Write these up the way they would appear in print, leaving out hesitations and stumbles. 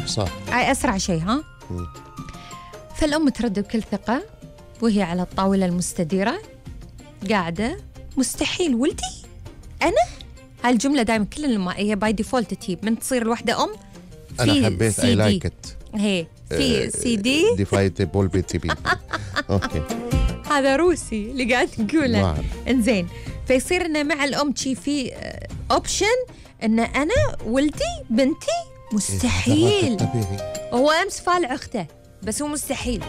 صح. أسرع شيء ها. فالأم ترد بكل ثقة وهي على الطاولة المستديرة قاعدة. مستحيل ولدي أنا. هالجملة دائما كل ما هي باي ديفولت تجيب من تصير الوحدة أم. أنا حبيت أي لايك إت. هي في سي دي ديفايتبل بي تي بي. أوكي. هذا روسي اللي قاعد نقوله. إنزين فيصير إنه مع الأم شي في أوبشن إن أنا ولدي بنتي مستحيل. هو أمس فالع أخته بس هو مستحيل.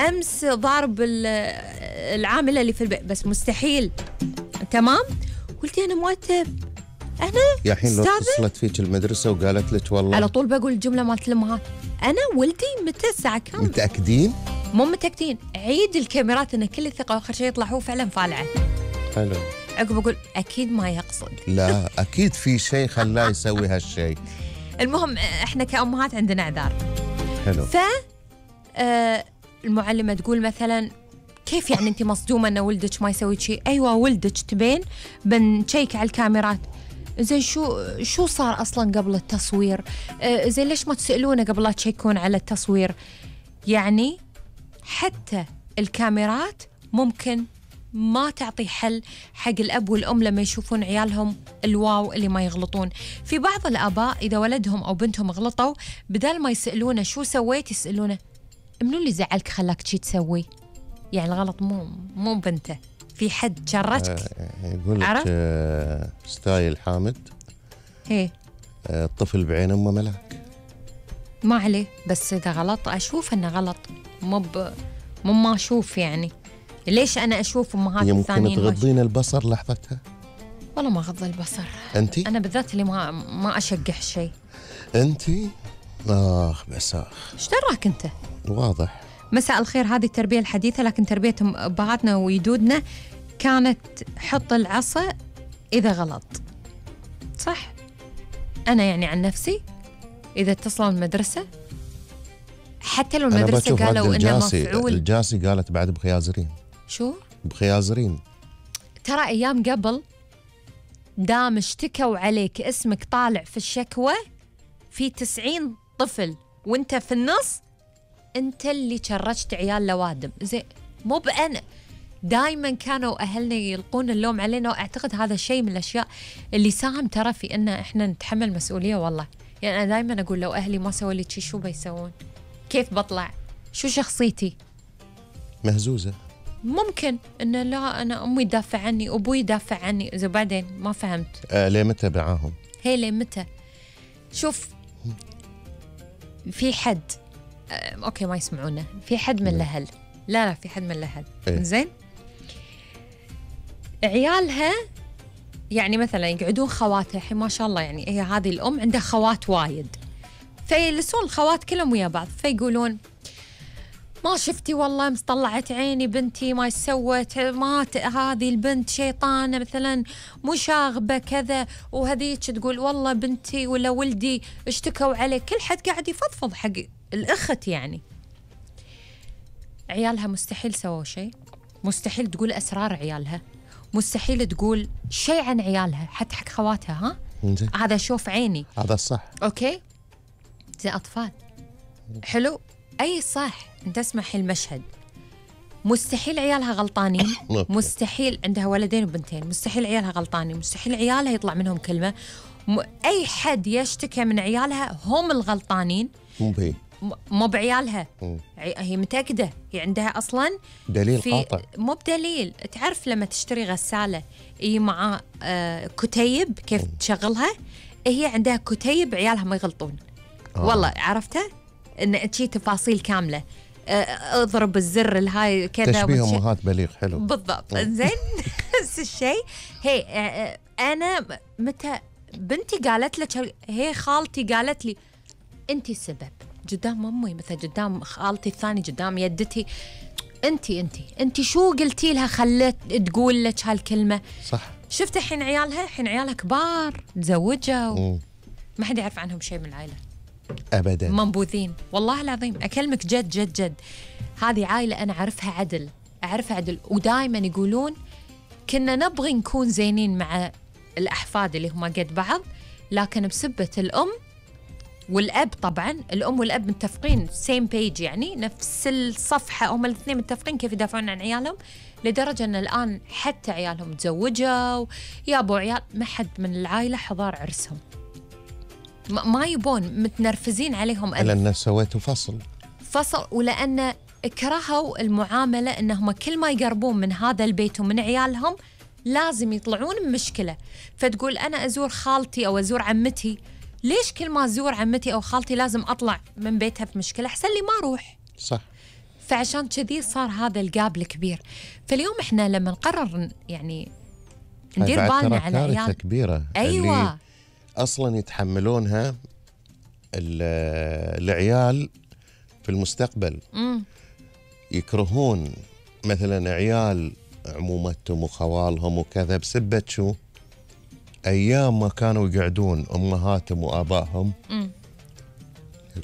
أمس ضارب العاملة اللي في البيت بس مستحيل. تمام. قلت أنا مؤدب. أنا يا حين لو اتصلت فيك المدرسة وقالت لك والله على طول بقول الجملة مالت الأمهات. أنا ولدي متى الساعة كم؟ متأكدين؟ مو متأكدين. عيد الكاميرات إن كل الثقة وآخر شيء يطلع هو فعلا فالعة. حلو. عقب أقول أكيد ما يقصد. لا أكيد في شيء خلاه يسوي هالشيء. المهم إحنا كأمهات عندنا أعذار. حلو. المعلمة تقول مثلا كيف يعني أنت مصدومة أن ولدك ما يسوي شيء؟ أيوة ولدك تبين بنشيك على الكاميرات. زين شو صار أصلا قبل التصوير؟ زين ليش ما تسألونه قبل لا تشيكون على التصوير؟ يعني حتى الكاميرات ممكن ما تعطي حل حق الأب والأم لما يشوفون عيالهم الواو اللي ما يغلطون. في بعض الآباء إذا ولدهم أو بنتهم غلطوا بدل ما يسألونه شو سويت يسألونه منو اللي زعلك خلاك شي تسوي؟ يعني الغلط مو بنته. في حد شرتك. يقول لك ستايل حامد. هي الطفل بعين أمه ملاك. ما عليه بس إذا غلط أشوف إنه غلط مو ما أشوف. يعني ليش أنا أشوف أمهات الثانيين يمكن تغضين البصر لحظتها. والله ما غض البصر. أنتي؟ أنا بالذات اللي ما أشجح شيء. أنتي؟ بس إيش دراك أنت؟ واضح. مساء الخير. هذه التربية الحديثة لكن تربية أبهاتنا ويدودنا كانت حط العصا إذا غلط. صح. أنا يعني عن نفسي إذا اتصلوا المدرسة حتى لو المدرسة قالوا إنه مفعول. الجاسي قالت بعد بخيازرين. شو؟ بخيازرين. ترى أيام قبل دام اشتكوا عليك اسمك طالع في الشكوى في 90 طفل وانت في النص انت اللي شرجت عيال لوادم. زين مو بأنا. دائما كانوا أهلنا يلقون اللوم علينا وأعتقد هذا الشيء من الأشياء اللي ساهم ترى في إن إحنا نتحمل مسؤولية. والله يعني أنا دائما أقول لو أهلي ما سووا لي شيء شو بيسوون؟ كيف بطلع؟ شو شخصيتي؟ مهزوزة. ممكن إنه لا أنا أمي تدافع عني أبوي يدافع عني. إذا بعدين ما فهمت. ليه متى معاهم؟ هي ليه متى؟ شوف في حد أوكي ما يسمعونا. في حد من الأهل لا في حد من الأهل زين عيالها يعني مثلا يقعدون خواتها الحين ما شاء الله يعني هي هذه الأم عندها خوات وايد فيجلسون الخوات كلهم ويا بعض فيقولون ما شفتي والله مطلعت عيني بنتي ما سوت ما هذه البنت شيطانة مثلا مشاغبة كذا وهذيك تقول والله بنتي ولا ولدي اشتكوا عليه. كل حد قاعد يفضفض حق الأخت. يعني عيالها مستحيل سووا شيء. مستحيل تقول أسرار عيالها. مستحيل تقول شيء عن عيالها حتى حق خواتها. هذا شوف عيني. هذا الصح. أوكي زي أطفال. حلو أي صح. أنت اسمح المشهد. مستحيل عيالها غلطانين. مستحيل عندها ولدين وبنتين. مستحيل عيالها غلطانين. مستحيل عيالها يطلع منهم كلمة. أي حد يشتكي من عيالها هم الغلطانين مو بعيالها. هي متأكدة هي عندها أصلا دليل قاطع. مو بدليل. تعرف لما تشتري غسالة مع كتيب كيف تشغلها هي عندها كتيب عيالها ما يغلطون. والله عرفتها إن شيء تفاصيل كاملة. اضرب الزر الهاي كذا. تشبيه أمهات بليغ. حلو بالضبط. زين نفس الشيء. هي أنا متى بنتي قالت لك هي خالتي قالت لي أنت السبب قدام أمي مثلا قدام خالتي الثاني قدام يدتي. أنت شو قلتي لها خلت تقول لك هالكلمة؟ صح. شفت الحين عيالها كبار تزوجوا ما حد يعرف عنهم شيء من العائلة أبدا. منبوذين. والله العظيم أكلمك جد جد جد. هذه عائلة أنا أعرفها عدل ودائما يقولون كنا نبغي نكون زينين مع الأحفاد اللي هم قد بعض لكن بسبة الأم والأب طبعا، الأم والأب متفقين سيم بيج، يعني نفس الصفحة، هم الاثنين متفقين كيف يدافعون عن عيالهم، لدرجة أن الآن حتى عيالهم تزوجوا يابوا عيال، ما حد من العائلة حضار عرسهم، ما يبون، متنرفزين عليهم لأن سويتوا فصل، ولأن كرهوا المعاملة، أنهم كل ما يقربون من هذا البيت ومن عيالهم لازم يطلعون بمشكلة. فتقول أنا أزور خالتي أو أزور عمتي، ليش كل ما أزور عمتي أو خالتي لازم أطلع من بيتها بمشكلة؟ أحسن لي ما أروح. صح. فعشان كذي صار هذا الجاب الكبير. فاليوم إحنا لما نقرر يعني ندير بالنا على عيال كبيرة، أيوة، اللي أصلا يتحملونها العيال في المستقبل. يكرهون مثلا عيال عمومتهم وخوالهم وكذا بسبة شو؟ أيام ما كانوا يقعدون أمهاتهم وآبائهم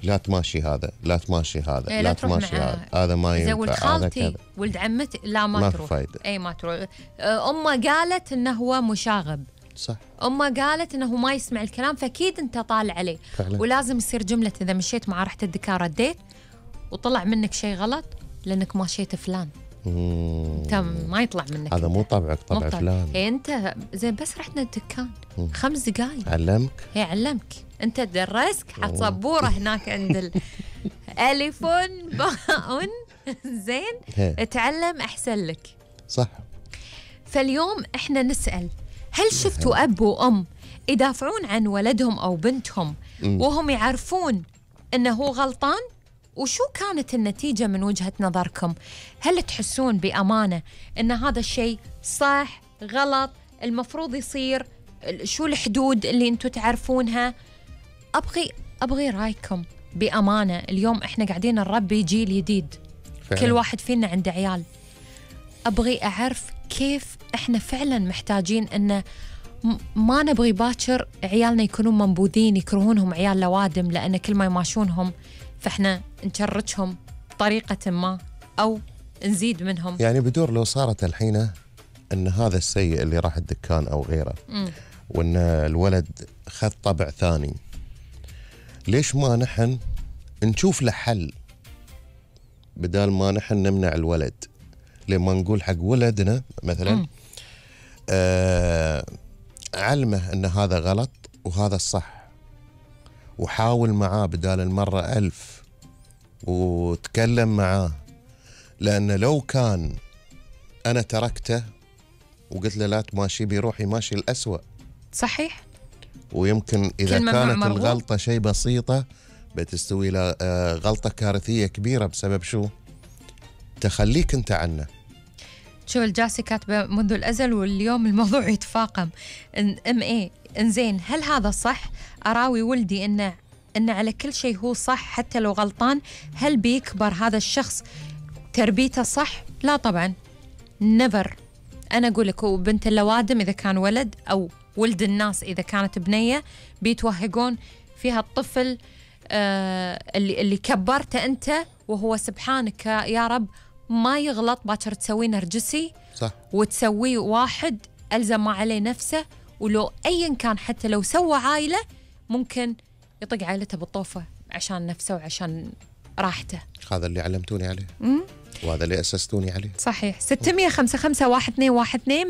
لا تماشي هذا، لا تماشي هذا، لا تماشي هذا ما ينفع، ولد خالتي ولد عمتي لا ما تروح، أي ما تروح. أمه قالت إنه هو مشاغب، صح. أمه قالت إنه ما يسمع الكلام، فأكيد أنت طالع عليه فعلا. ولازم يصير جملة إذا مشيت مع رحت الدكار رديت وطلع منك شيء غلط لأنك ماشيت فلان، انت ما يطلع منك، هذا مو طبعك، طبع فلان. انت زين بس رحنا الدكان 5 دقايق علمك، هي علمك، انت درسك، حط سبوره هناك عند الف باء زين اتعلم احسن لك، صح. فاليوم احنا نسأل، هل شفتوا اب وام يدافعون عن ولدهم او بنتهم وهم يعرفون انه هو غلطان؟ وشو كانت النتيجة من وجهة نظركم؟ هل تحسون بأمانة أن هذا الشيء صح غلط المفروض يصير؟ شو الحدود اللي أنتوا تعرفونها؟ أبغي رأيكم بأمانة. اليوم إحنا قاعدين نربي جيل جديد فعلا. كل واحد فينا عنده عيال، أبغي أعرف كيف إحنا فعلا محتاجين أن ما نبغي باكر عيالنا يكونون منبوذين يكرهونهم عيال لوادم، لأن كل ما يماشونهم فإحنا نشرجهم بطريقة ما أو نزيد منهم. يعني بدور لو صارت الحين أن هذا السيء اللي راح الدكان أو غيره وأن الولد خذ طبع ثاني، ليش ما نحن نشوف له حل بدال ما نحن نمنع الولد؟ لما نقول حق ولدنا مثلا علمه أن هذا غلط وهذا الصح، وحاول معاه بدال المرة 1000 وتكلم معاه، لأن لو كان أنا تركته وقلت له لا تماشي بيروح يماشي الأسوأ. صحيح. ويمكن إذا كانت الغلطة شيء بسيطة بتستوي له غلطة كارثية كبيرة بسبب شو؟ تخليك أنت عنه. شو الجاسي كاتبة منذ الأزل واليوم الموضوع يتفاقم. إنزين هل هذا صح؟ أراوي ولدي إن على كل شيء هو صح حتى لو غلطان، هل بيكبر هذا الشخص تربيته صح؟ لا طبعا، never. أنا أقول لك بنت اللوادم إذا كان ولد أو ولد الناس إذا كانت بنية بيتوهقون فيها الطفل اللي كبرته أنت، وهو سبحانك يا رب ما يغلط، باكر تسويه نرجسي صح، وتسويه واحد ألزم ما عليه نفسه، ولو أيا كان حتى لو سوى عائلة ممكن يطق عائلته بالطوفة عشان نفسه وعشان راحته. هذا اللي علمتوني عليه وهذا اللي أسستوني عليه. صحيح. 655-1212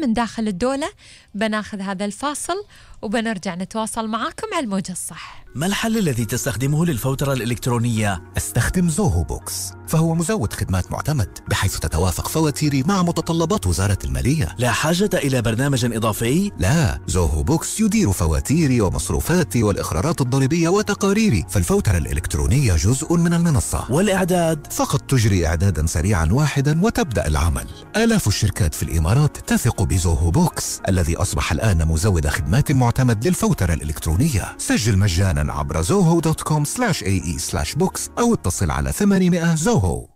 من داخل الدولة. بناخذ هذا الفاصل وبنرجع نتواصل معاكم على الموجة الصح. ما الحل الذي تستخدمه للفوترة الإلكترونية؟ استخدم زوهو بوكس، فهو مزود خدمات معتمد بحيث تتوافق فواتيري مع متطلبات وزارة المالية. لا حاجة إلى برنامج إضافي؟ لا، زوهو بوكس يدير فواتيري ومصروفاتي والإخرارات الضريبية وتقاريري، فالفوترة الإلكترونية جزء من المنصة. والإعداد؟ فقط تجري إعدادا سريعا واحدا وتبدأ العمل. آلاف الشركات في الإمارات تثق بزوهو بوكس الذي أصبح الآن مزود خدمات معتمد للفوترة الإلكترونية. سجل مجانا عبر zoho.com/ae/box أو اتصل على 800 زوهو.